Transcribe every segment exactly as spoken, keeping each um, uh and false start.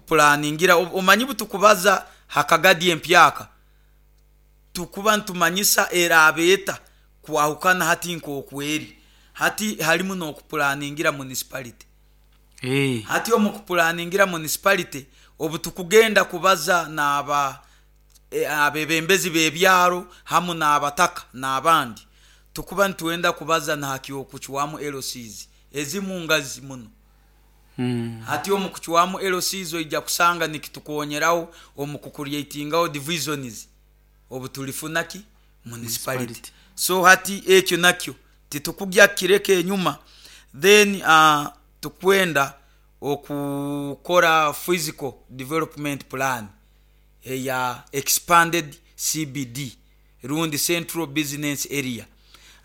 Okupulaningira, omanyi butukubaza hakagadi empyaka, tukuba ntumanyisa eraaba eta kwahukana hati nk'okweri. Hati harimu n'okupulaningira municipality. Eh. Hati omu kupulaningira municipality, obu tukugenda kubaza n'aba abebembezi b'ebyaro hamu n'abataka n'abandi, tukuba nitwenda kubaza nahaky'okucwamu L Cs ezimu ngazi muno. Mm. Hati omu kucwamu L Cs, oija kusanga nikitukonyeraho omu kucreatingaho divisions obu tulifuna ki municipality. Municipality. So hati ekyo nakyo titukugya kukireka enyuma. Then uh, tukwenda okukora physical development plan eya expanded C B D rundi central business area.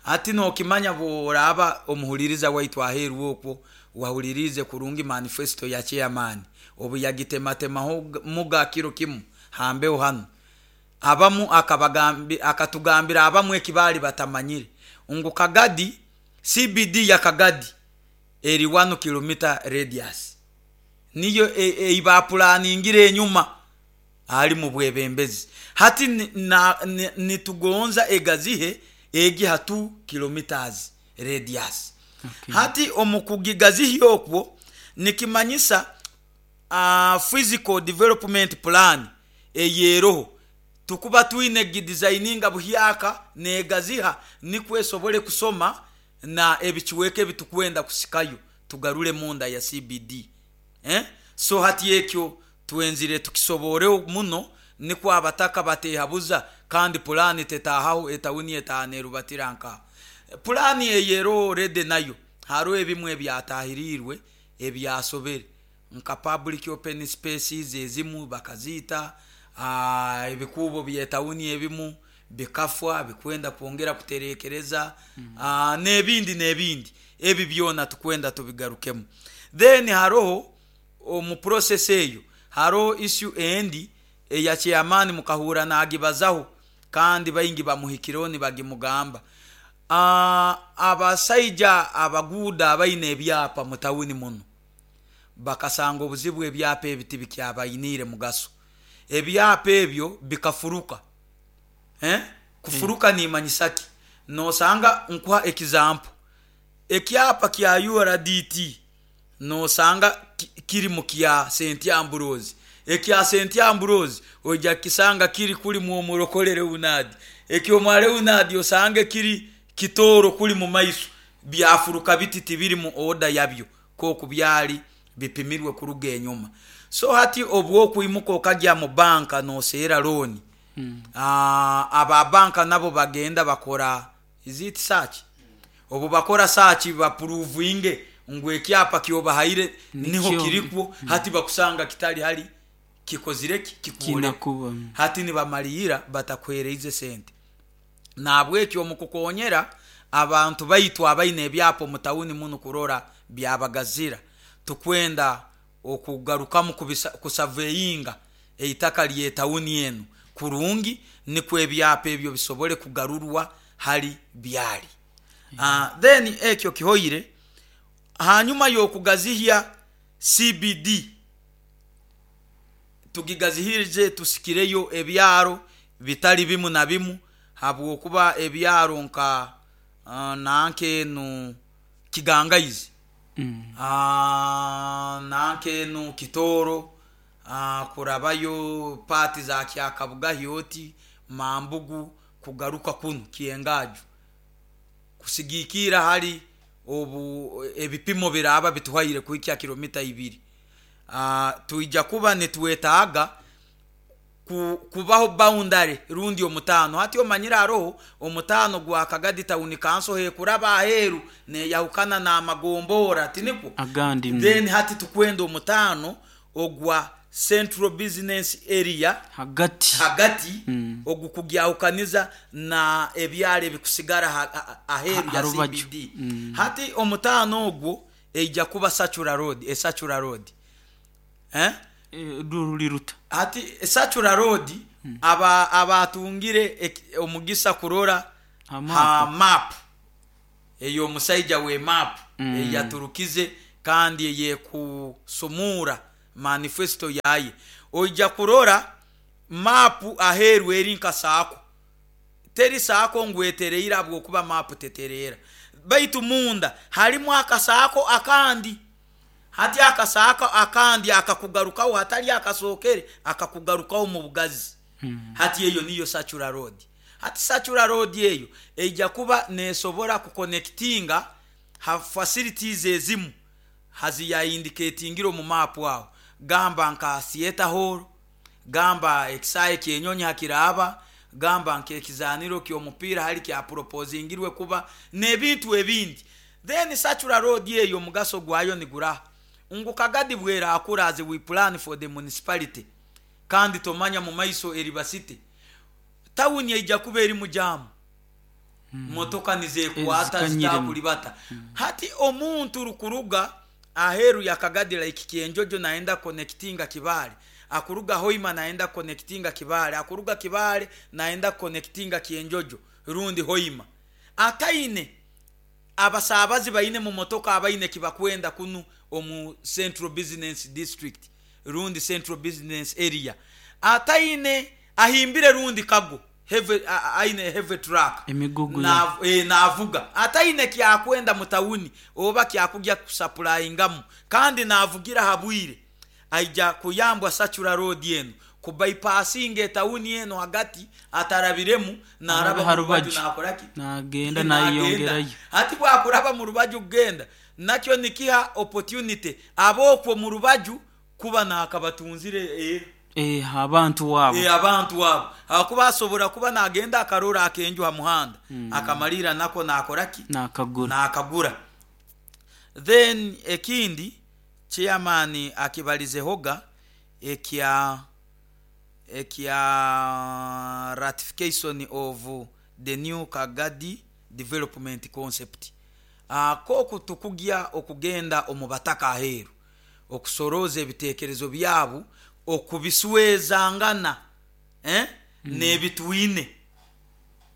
Hati nokimanya, bworaba omuhuliriza waitu aheeru okwo wahulirize kurungi manifesto ya chairman obu yagitematemaho muga kiro kimu hambeho hanu, abamu akabagambi, akatugambira abamu eki baali batamanyire ngu Kagadi, C B D ya Kagadi eri one kilometer radius, niyo eibaplaningire enyuma ali mu bwebembezi. Hati nitugonza egazihe egi ha two kilometers radius. Okay. Hati omu kugigazihya okwo nikimanyisa uh, physical development plan eyeroho tukuba twine gidesigninga buhyaka negaziha, nikwo esobole kusoma na ebicweka ebitukwenda kusikayo tugarure munda ya C B D, eh? So hati ekyo twenzire tukisoboreho muno, nikwo abataka batehabuza. Kandi pulaani tetahaho etawuni etaha nerubatira nkaha. Pulaani eyero rede nayo hariho ebimu ebyatahirirwe ebyasobere, nka public open spaces ezimu bakaziita, ebikuubo byetawuni ebimu bikafwa bikwenda kwongera kuterekereza, mm. n'ebindi n'ebindi. Ebi byona tukwenda tubigarukemu. Then haroho omu process eyo haroho issue endi eya chairman mukahura nagibazaho, kandi baingi bamuhikireho nibagimugamba. Abasaija abaguuda abaine ebyapa mu tawuni muno bakasanga obuzibu, ebyapa ebi tibikyabainiire mugaso, ebyapa ebyo bikafuruka, eh? Kufuruka nimanyisa ki? Nosanga, nkuha example, ekyapa kya U R D T nosanga kiri mu kya Saint Ambrose, ekya Saint Ambrose oija kukisanga kiri kuli mwomurokole Leonard, ekyomwa Leonard osange kiri Kitooro kuli mu maiso. Byafuruka biti, tibiri mu order yabyo koku byali bipimirwe kuruga enyuma. So hati obwokwimuka okagya mu banka noseera loan, mm. aba banka nabo bagenda bakora, is it search? Obu bakora search baprovinge ngu ekyapa kyobahaire niho kirikwo, mm. hati bakusanga kitali hali kikozire ki kikuoleka, hati nibamalira batakuhereize sente. Nahabwekyo omu kukonyera abantu baitu abaine ebyapa omu tawuni munu kurora byabagazira, tukwenda okugarukamu kusurveyinga eitaka lyetawuni enu kurungi, nikwo ebyapa ebyo bisobole kugarurwa hali byali. uh, then ekyo kihoire. Hanyuma y'okugazihya C B D, tugigazihirize, tusikireyo ebyaro bitali bimu na bimu, habwokuba ebyaro nka uh, nankenu Kigangaizi, mm. uh, nankenu Kitooro, uh, kurabayo paati za Kyakabugahi oti Mambugu, kugaruka kunu Kyengaju, kusigikira hali obu ebipimo biraba bituhaire kuhikya kilomita ibiri, uh, twija kuba nitwetaaga kubaho boundary rundi omutaano. Hati omanyire haroho omutaano gwa Kagadi Town Council hekuraba aheeru neyahukana n'amagombora, tinikwo? Agandi. Then hati tukwenda omutaano ogwa central business area hagati. Hagati, mm. ogukugyahukaniza na ebyaro ebikusigara aheeru ya C B D. mm. Hati omutaano ogwo eija kuba Circular Road, e Circular Road, eh? Ruli ruta? Hati Circular Road, mm. aba abatungire omugisa kurora ha map ey'omusaija we map, mm. eyaturukize kandi eyekusumura. Manifesto yaye oija kurora mapu aheeru eri nka saako, teri saako ngu etereire, habwokuba mapu tetereera, baitu munda harimu akasaako akandi. Hati akasaako akandi akakugarukaho, hatali akasookere, akakugarukaho mu bugazi. Hati eyo niyo Circular Road. Hati Circular Road eyo eija kuba neesobora kuconnectinga ha facilities ezimu haziyaindicatingire omu mapu aho, gamba nka theatre hall, gamba ekisaayi ky'enyonyi hakiraaba, gamba nk'ekizaaniro ky'omupiira hali kyaproposingirwe kuba n'ebintu ebindi. Then Circular Road eyo omugaso gwayo niguraha ngu Kagadi bwerakura, as we plan for the municipality, kandi tomanya mu maiso eriba city, tawuni eija kuba erimu jam, motoka nizekwata. Ezikanyiremu. Zitakulibata. Hati omuntu rukuruga aheeru ya Kagadi, like Kyenjojo, naenda connectinga Kibaale, akuruga Hoima naenda connectinga Kibaale, akuruga Kibaale naenda connectinga Kyenjojo rundi Hoima, ataine abasaabazi baine mu motoka abaine kibakwenda kunu omu Central Business District rundi Central Business Area, ataine ahimbire rundi kago heavy, a- a- aine heavy truck. Emigugu. Na, e, navuga ataine kyakwenda mu tawuni oba kyakujya kusupplyingamu, kandi navugira habwire, aija kuyambwa Circular Road eno kubypassinga etawuni eno hagati, atarabiremu, naraba Arabe mu rubaju. harubaju. Nakoraki? Nagenda. Nagenda. Nayeyongerayo. Hati bwakuraba mu rubaju kugenda nakyo nikiha opportunity abokwo mu rubaju kuba nakabatunzire eh, Eh, abantu wabo. e, abantu abo akuba asobora kuba nagenda akarora akenju ha muhanda, akamalira nako nakoraki? Nakagura. Nakagura. Then ekindi chairman akibalizehoga ekya ekya ratification of the new Kagadi development concept. uh, koku tukugya okugenda omu bataka aheeru okusoroza ebitekerezo byabo, okubiswezangana, eh? mm. n'ebitwine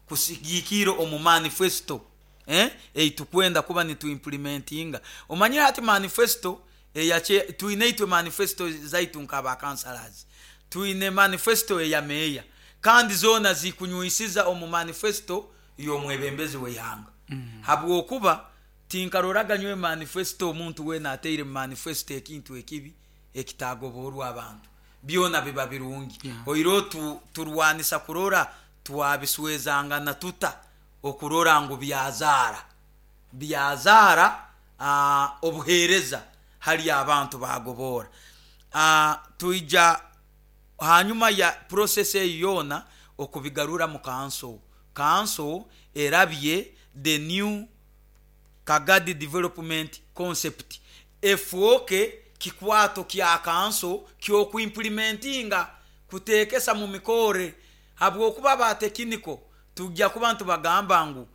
kusigikira omu manifesto, eh? Eitukwenda kuba nituimplementinga. Omanyire hati manifesto eyache twine itwe, manifesto zaitu nk'aba councillors, twine manifesto eya meya, kandi zoona zikunyuisiza omu manifesto y'omwebembezi w'eihanga, mm. habwokuba tinkaroraga nywe manifesto omuntu weena ateire mu manifesto ekintu ekibi ekitagoborwa abantu, byona biba birungi. Yeah. Oiro tu, turwanisa kurora twabiswezangana tuta okurora ngu byazaara byazaara uh, obuheereza hali abantu bagobora. uh, tuija hanyuma ya process eyo yoona okubigarura mu council, council erabye the new Kagadi development concept, efuoke kikwato kya council kyokuimplementinga, kutekesa mu mikore, habwokuba ba technical tujja kuba ntubagamba ngu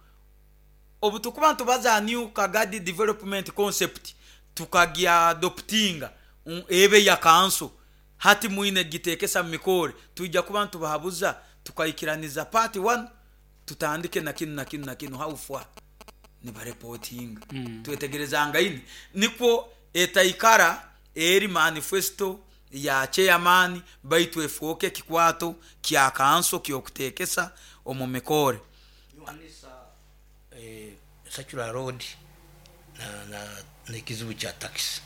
obu tukuba ntubaza new Kagadi development concept, tukagiadoptinga, mm, ebe ya council, hati mwine gitekesa mu mikore, tujja kuba ntubahabuza tukaikiraniza part one, tutandike na kinu na kinu na kinu, how far nibareportinga. mm. Twetegerezanga ini nikwo etaikara eri manifesto ya chairman, baitu efuoke kikwato kya council kyokutekesa omu mikore. Yohanisa, eh, Circular Road na, na, n'ekizibu kya taxi.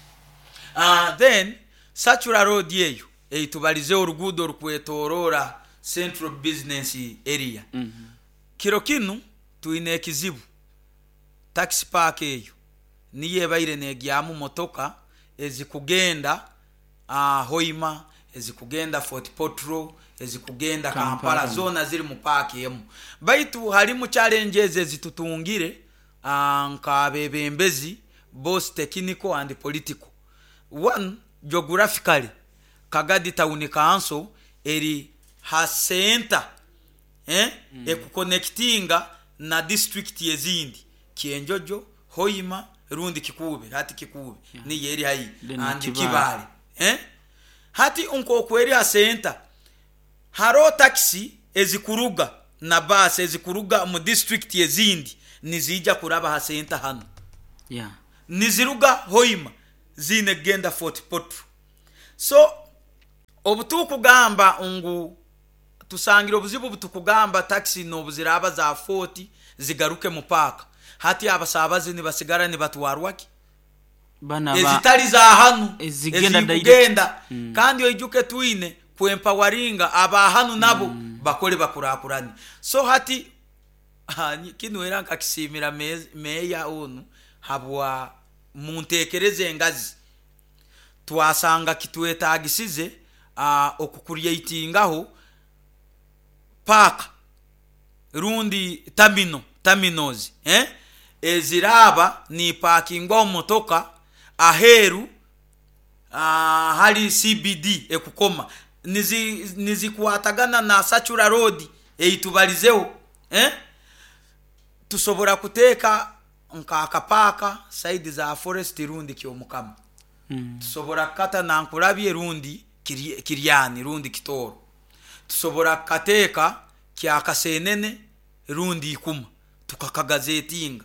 uh, then Circular Road eyo eitubalize oruguudo orukwetoroora Central Business Area. mm -hmm. Kiro kinu twine ekizibu, taxi park eyo niyo ebaire negyamu motoka ezikugenda uh, Hoima, ezikugenda Fort Portal, ezikugenda Kampala, Kampala. Zona ziri mu paaki emu, baitu harimu challenges ezitutungire uh, nk'abebembezi, both technical and political. One, geographically Kagadi Town Council eri ha center, eh? mm. ekuconnectinga na district ezindi, Kyenjojo, Hoima rundi Kikuube, hati Kikuube, yeah. niyo eri haihi Then and Kibaale. Kibaale, eh? Hati nk'oku eri ha center, hariho taxi ezikuruga na baasi ezikuruga mu district ezindi nizija kuraba ha center hano. Yeah. Niziruga Hoima ziine kugenda Fort Portal. So obutukugamba ngu tusangire obuzibu, butukugamba taxi nobuziraba za forty zigaruke mu paaka, hati abasabazi nibasigara nibatwarwa ki? Bana ba ezitali za hanu, ezigenda ezikugenda direct. Mm. Kandi oijuke twine kwempoweringa abahanu nabo bakole bakurakurane. So hati ha, nyi- kinu era nkakisimira me- meya onu habwa muntekereze engazi twasanga kitwetagisize uh, okucreatingaho park rundi terminal, terminals, eh? Eziraba ni parkingwaho motoka aheru uh, hali C B D ekukoma nizi nizikwatagana na Circular Road eitubalizeho, eh? Tusobora kuteeka nka akapaaka side za Forest rundi Kyomukama, Mm. tusobora kukata Nankulabye rundi Kiri- kiryani rundi Kitooro, tusobora kukateeka Kyakasenene rundi Ikuma, tukakagazetinga,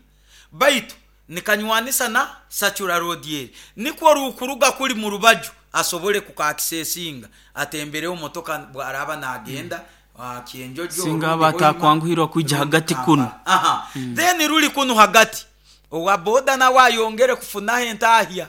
baitu nikanywanisa na Circular Road eri, nikwo rukuruga kuli mu rubaju asobole kukakisesinga atembereho motoka bwaraba nagenda mm. Kyenjojo Singa rundi aba Hoima, atakwanguhirwa kwija rundi hagati Kampala. kuno. Aha. Then ruli kunu hagati, owa boda nawe ayongere kufunaho entahya,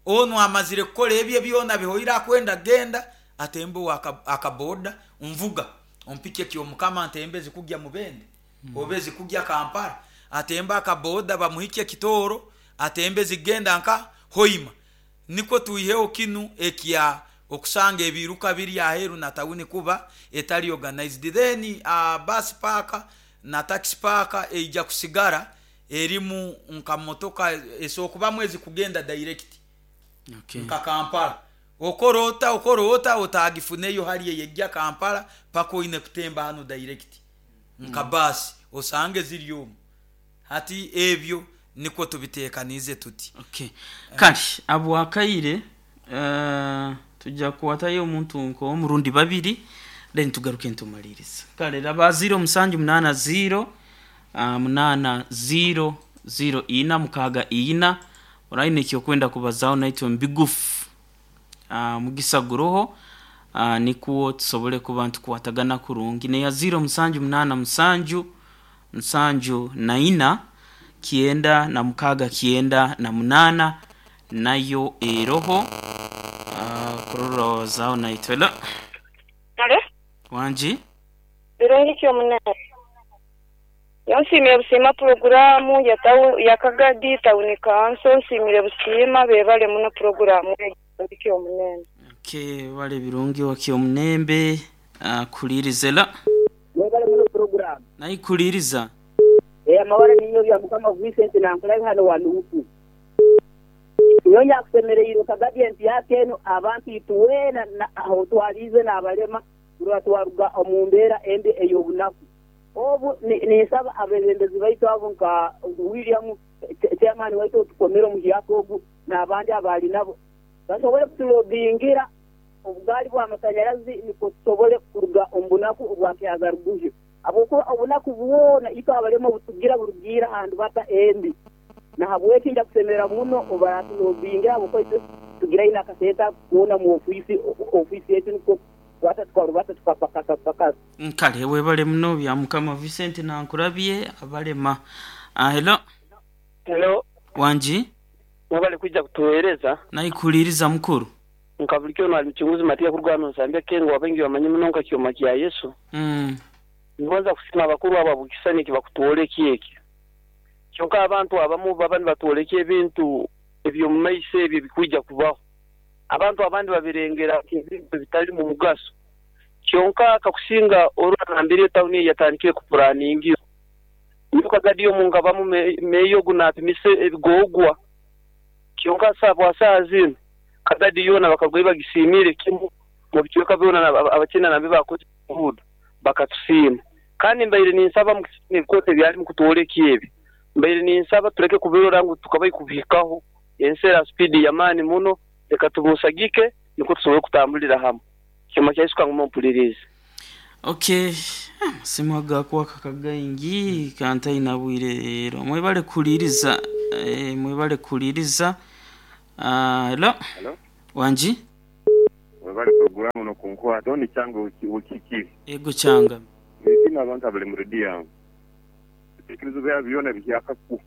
onu amazire kukora ebye byona bihoire, akwenda genda atembe owa akaboda, nvuga ompike Kyomukama, ntembe zikugya Mubende mm. obe zikugya Kampala, atembe akaboda bamuhike Kitooro, atembe zigenda nka Hoima, nikwo tuiheho kinu ekya okusanga ebiruka biri aheru na tawuni kuba etali organized. Then uh, bus park na taxi park eija kusigara erimu nka motoka esokubamu ezikugenda direct Okay. nka Kampala, okorota okorota otagifuneyo hali eyejja Kampala paka oine kutemba hano direct nka basi osange ziri omu. Hati ebyo nikwo tubitekanize tuti. Okay. Kale abwakaire uh, tujja kuwatayo omuntu nk'omurundi babiri, then tugaruke ntumaliriza. Kale raba zero musanju munana zero uh, munana zero zero ina mukaga ina, oraine ekyokwenda kubazaho naitwe mbigufu, uh, mugisa guroho, uh, nikuwo tusobole kuba ntukwatagana kurungi, neya zero musanju munana musanju nsanju na ina kienda na mukaga kienda na munana, nayo eroho uh, kurora wazaho naitwe la. Alo, wanji. Birungi kyomunene. Nsimire busiima puroguramu ya tawu ya Kagadi Town Council, nsimire busiima, bebale muno puroguramu kyomunene. Okay, bale birungi wa Kyomunembe uh, kulirize la. Mwebale muno puroguramu. Nayikuliriza. Eh, amawara niyo bya Mukama Vincent nankulabi hano wanuuku. Niyo nyakusemereirwe Kagadi empyaka eno, abantu ituweena na- aho twalize n'abalema turwa twaruga omu mbeera embi ey'obunaku. Obu ni- ninsaba abebembezi baitu abo nka William eh, chairman waitu otukomere omuhyaka ogu n'abandi abaali nabo basobole kutulobingira obugaali bw'amasanyarazi, nikwo tusobole kuruga omu bunaku obwakyaza ruguhyo, habwokuba obunaku bwona itwe abalema obutugira burugiira ahantu bata embi. Nahabweki nja kusemera muno obaratulobingira, habwokuba itwe tugira ina akasente kuona mu ofiisi ofiisi yetu, nikwo kwata tukarubata tukapakasa pakasa. Kale webale muno bya Mukama Vincent nankurabye abalema. uh, hello. Hello, Wanji. mwebale kwijja kutuweereza. Nayikuliriza mukuru. Nka bulikyo ali mchunguzi Matia kurwana nsambya kengo wabengi wamanyi muno nka kyoma kya Yesu. mm. Ngonza kusima abakuru abo bukisani kibakutuoleki eki. Kyonka abantu abamu baba nibatuoleki ebintu ebyo mu maiso ebyo bikwijja kubaho. Abantu abandi babirengera ebintu bitali mu mugaso. Kyonka kakusinga orwana mbere tawuni yatandikire kupuraningi. Niyo Kagadi omunga bamu meyo gunapimise ebigogwa. Kyonka sabwa saa zino Kagadi yona bakagwe bagisimire kimu mu bicweka byona, abakina nabe bakoze ngudo bakatusiima. Kandi mbaire ninsaba mu ebikote byali mu kutwoleka ebi, mbaire ninsaba tureke kubirora ngu tukabai kubihikaho ensera speed yamaani muno, reka tumusagike niko tusobole kutambulira hamwe. Kyoma kyaisuka ngumo mpulirize. Okay, amasimu gakwaka kagaingi kantaina bwire rero. Mwebale kuliriza, eh, mwebale kuliriza. uh, hello. Hello. Wanji. Webale programu nokunkwata oni kyange ukikiri. Ego kyanga. Nisima abantu abali mu rediyo yange. Ebitekerezo byabo byona bihyakaku.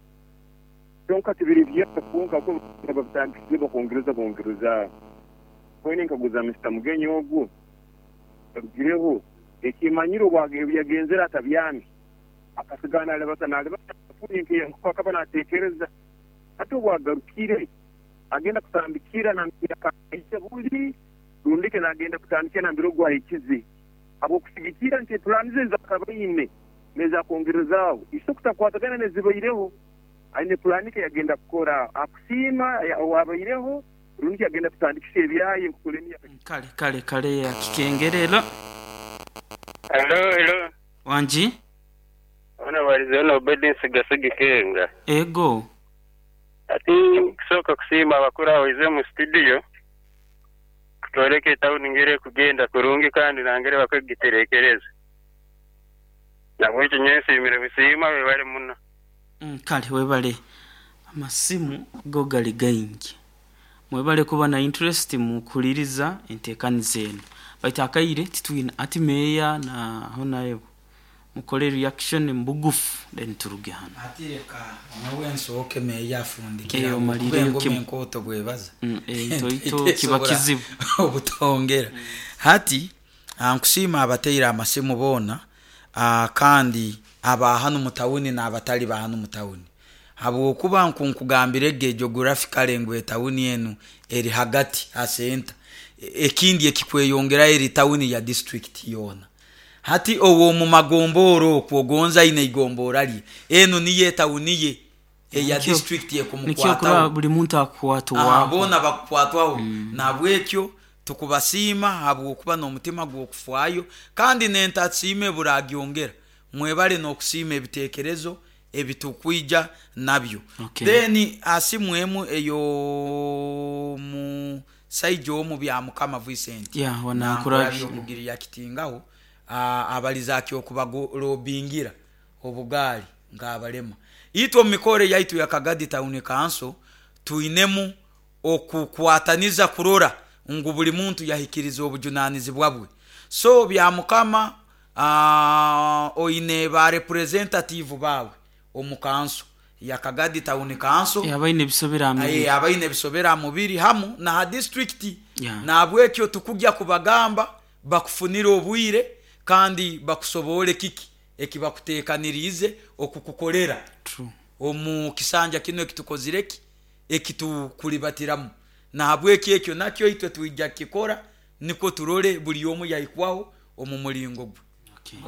Kyonka tibiri byaka ko babitandikire bakongereza bongereza. Kwene nkaguza Mister Mugenyi ogu. Agireho ekimanyiro byagenzera atabyami. Akasigana alebata nalebata nke akaba natekereza. Ate obwagarukire agenda kutandikira na mpira buli rundike nagenda kutandikira na mbiro gwa ikizi. Abo kusigikira nti planize zakabaine neza kongerezaawo iso kutakwatagana nezibaireho aine planike yagenda kukora akusima wabaireho rundike yagenda kutandikisha ebyaye nkukulemya kale kale kale ya kikengerero. Hello hello wanji ona walizoona obedience gasigikenga ego ati kusoka kusima abakura wize mu studio kutoleke town ngere kugenda kurungi kandi nangere bakagiterekereza nabwo nyensi imire bisima webale muno. Mm, kale webale amasimu go gali gaingi mwebale kuba na interest mu kuliriza entekanize eno baita akaire titwina ati meya na honayo mukole reaction mbugufu then turuge hano atireka nawe nsoke meya afundikira eyo malire kim bwebaza mm, eh ito ito kiba kizibu obutongera mm. Hati ankusima abateira amasimu bona uh, kandi aba hano mutawuni na abatali ba hano mutawuni habwokuba nkunkugambire ge geographically ngwe tawuni enu eri hagati ha center ekindi ekikweyongera eri tawuni ya district yona. Hati owo mu magomboro kuogonza ine igombora lye enu niye tawuni ye eya district ye kumukwata buli muntu akwatwa bona bakwatwaho mm. Nabwekyo tukubasima habwokuba n'omutima gw'okufwayo kandi nentatsime buragyongera mwebale n'okusima ebitekerezo ebitukwija nabyo. Okay. Then asimwemu eyo mu saijo mu bya Mukama Vincent yeah wana kurabyo kugirira kitingaho abaliza kyo kubalobingira obugali ngabalema itwo mikore yaitu ya Kagadi Town Council tuinemu okukwataniza kurora ngu buli muntu yahikiriza obujunanizibwa bwe. So bya Mukama uh, oine ba representative bawe omukanso ya Kagadi Town Council yabaine bisobera mubiri abaine bisobera mubiri hamu na ha district yeah. Na bwekyo tukujya kubagamba bakufunira obwire kandi bakusobole kiki ekibakutekanirize okukukolera omu kisanja kino ekitukozireki ekitukulibatiramu na bweki ekyo nakyo itwe tuija kikora niko turole buli omu yaikwaho omu mulingo gwe. Okay.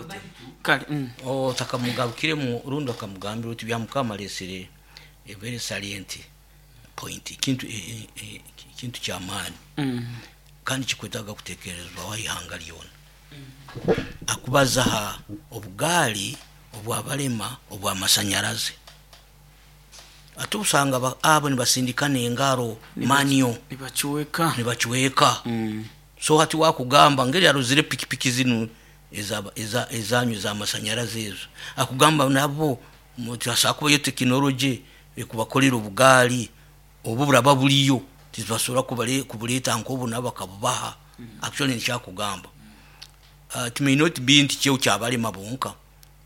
Kale mm. O takamugabukire mu rundo akamugambira uti bya Mukama lesere a very salient point kintu e, e, kintu kya maani mm. kandi kikwetaga kutekerezwa wahanga lyona mm. Akubaza ha obugali obwabalema obwamasanyaraze atusanga abo nibasindikana engaro manio nibachuweka nibachuweka mm. So hati wakugamba ngeri aruzire pikipiki zinu eza eza ezanyu za masanyaraze ezo akugamba nabo mutasakuba yo technology ekubakolera obugali obu buraba buliyo tizbasobola kubale kubuleta nkobu nabakabubaha mm. Actually nkyakugamba uh, it may not be nti kyo kyabalema bonka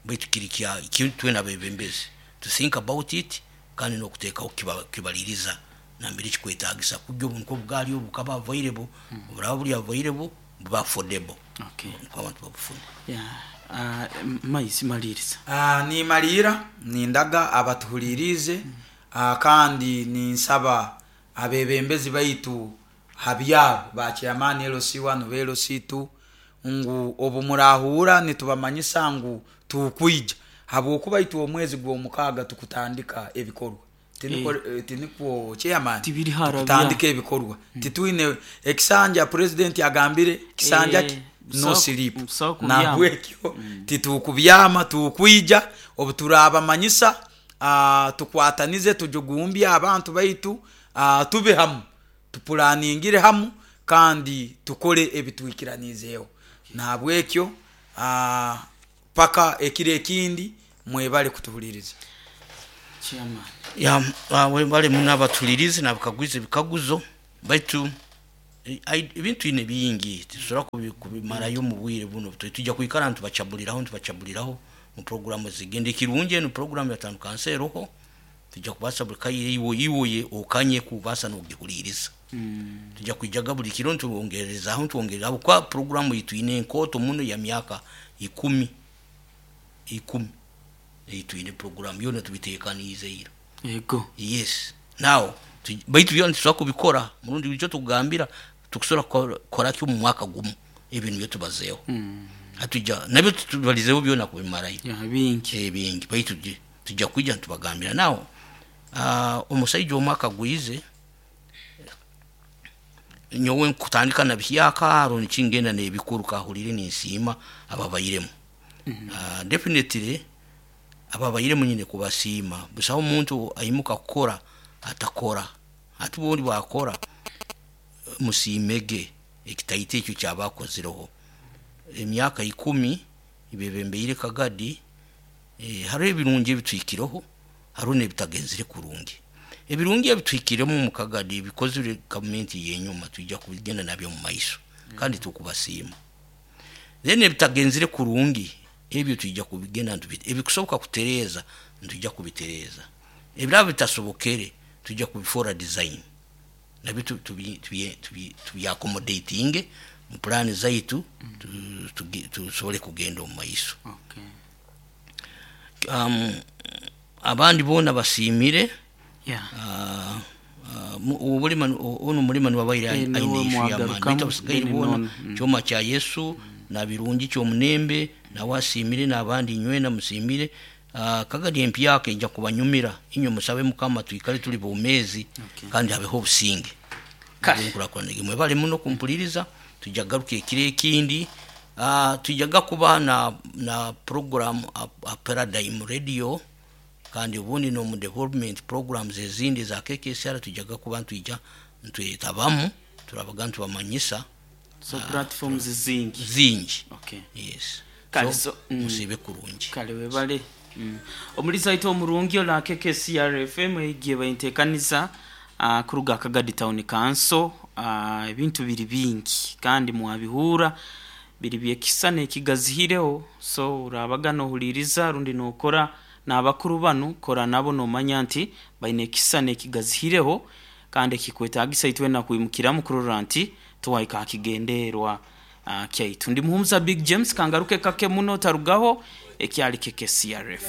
baitu kiri kya kintu nabebembezi to think about it kandi nokuteekaho kibaliriza nambere kikwetagisa kujja obuntu obugali obukaba available mm. Oburaba buli available buba affordable. Okay. Abantu babufuna. Yeah. Uh, maisi maliriza. Ah uh, ni malira nindaga abatuhulirize mm. uh, kandi ninsaba abebembezi baitu habyabo ba chairman L C one L C two ngu obumurahura nitubamanyisa ngu tukwija habwokuba itu omwezi gw'omukaga tukutandika ebikorwa tiniko eh, tiniko chairman tutandika ebikorwa mm. Tituine ekisanja president agambire kisanja eh, no sleep na bwekyo mm. Titukubyama tukwija obuturabamanyisa uh, tukwatanize tujugumbya abantu baitu uh, tube hamu tupulaningire hamu kandi tukole ebitwikiranizeyo na bwekyo uh, paka ekire ekindi mwebale kutuhuliriza. Chairman ya webale munaba tulirize nabakagwize bikaguzo baitu Eh, ai- ebintu ine bingi tusobola kubi- kubimarayo mu bwire buno. Tu- tujja kwikara ntubacabuliraho ntubacabuliraho mu programu zigenda. Ekirungi, eno programu ya town council eroho, tujja kubasa buli kaire iwe iwoye okanye kubasa nogihuliriza. Tujja kwijaga buli kiro ntubongerezaho ntubongereraho kwa programu yitu ine enkoto muno ya myaka ikumi ikumi eyitwine. Programu yona tubitekaniize ira. Yego. Yes, now tu- baitu byona tusobola kubikora murundi icyo tugambira tukusobola kukora kyo mu mwaka gumu ebintu byo tubazeeho hatujja nabyo tubalizeho byona kubimarayo. Ya, bingi. Ebingi, baitu tujja- tujja kwija ntubagambira. Nawo uh, omusaija omwaka gwize nyowe nkutandika na bihyaka aro nikingenda nebikuru kahulire ninsiima ababairemu. mm -hmm. uh, definitely ababairemu nyine kubasiima. Busaho omuntu aimuka kukora atakora, ati bundi bwakora musiimege ekitaito ekyo kyabakozireho emyaka ikumi ibebembeire Kagadi. eh, hariho ebirungi ebitwikireho, hariho n'ebitagenzire kurungi. Ebirungi ebitwikiremu mu Kagadi bikozire gavumenti yenyuma, tujja kubigenda nabyo mu maiso kandi tukubasiima. Then ebitagenzire kurungi ebyo tujja kubigenda ntubi- ebikusoboka kutereeza ntujja kubitereeza, ebiraba bitasobokere tujja kubifora design nabyo tu- tubi- tubi- tubi- tubyaccommodatinge mu pulaani zaitu, tu- tugi- tusobole kugenda omu maiso. Okay. um, abandi boona basiimire. Yeah. Ah, ah, mu- obulima ono mulima niwabaire Eh, aine niwe ishu y'amaani. mwagarukamu, Baitu abasigaire then boona nono, mm. kyoma kya Yesu na birungi kyomunembe nawe asiimire n'abandi nywena musiimire. Ah, Kagadi empyaka ejja kubanyumira. Inywe musabe Mukama twikale tuli bomeezi Okay. kandi habeho obusinge. Kale. Nkurakurana. Mwebale muno kumpuliriza. Tujja garuka ekiro ekindi. Ah, tujjaga kuba na, na program a, a Paradigm Radio kandi obundi nomu development programs ezindi za K K S R tujjaga kuba ntwija ntwetabamu, turabaga ntubamanyisa. So platforms zingi. Zingi. Okay. Yes. Kale, so, so, mm. musibe kurungi. Kale, webale. mm. omuliza waitu omurungi ola K K C R F M egiye bainteekaniza uh, kuruga Kagadi Town Council. uh, ebintu biri bingi kandi mwabihura biri byekisa nekigazihireho. So urabaga nohuliriza rundi nokora n'abakuru banu, kora nabo nomanya nti baine ekisa nekigazihireho kandi ekikwetagisa itwena kwimukiramu kurora nti tuwaika hakigenderwa uh, kyaitu. Ndi Muhumuza Big James, kangaruke kake muno, tarugaho, ekyali K K C R F.